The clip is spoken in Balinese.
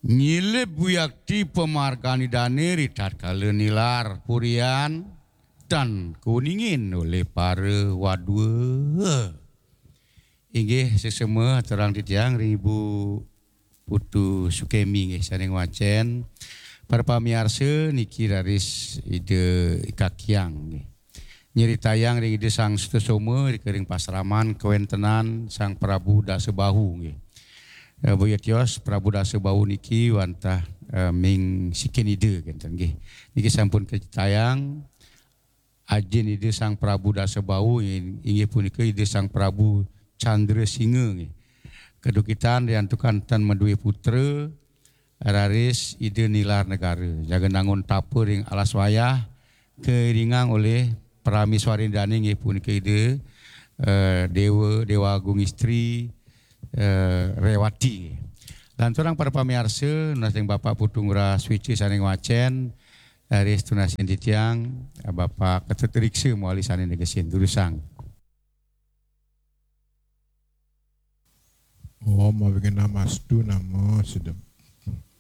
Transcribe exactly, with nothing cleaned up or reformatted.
Nyilib wiakti pamargan Idane ri tatkala nilar purian tan kuningin olih para wadua. Inggih sesama terang titiang ring Ibu Putu Sukemi nggih sane ngwacen. Para pamiarsa niki raris Ida Ika Kiang nggih. Nyeritayang ring Ida Sang Sutasoma ring pasraman kawentenan Sang Prabu Dasa Bahu nggih. Eh, boya tios Prabu Dasa Bahu niki wantah eh, ming sikin Ida kenten nggih. Niki sampun kacetayang ajin Ida Sang Prabu Dasa Bahu inggih punika Ida Sang Prabu Chandra Singa nggih. Kedukitan riantukan tan madue putra raris Ida nilar negara. Jaga nangun tapa ring alas wayah kairingang oleh prameswarin dane nggih punika Ida eh, Dewa Dewa Agung Istri eh, Rewati. Lanturang para pamiarsa, nunas ring Bapak Putu Ngurah Switch sane ngwacen, raris tunasin titiang, eh, Bapak Ketut Riksa mawali sane negesin durusang. Om Awighnamastu Namo Siddham.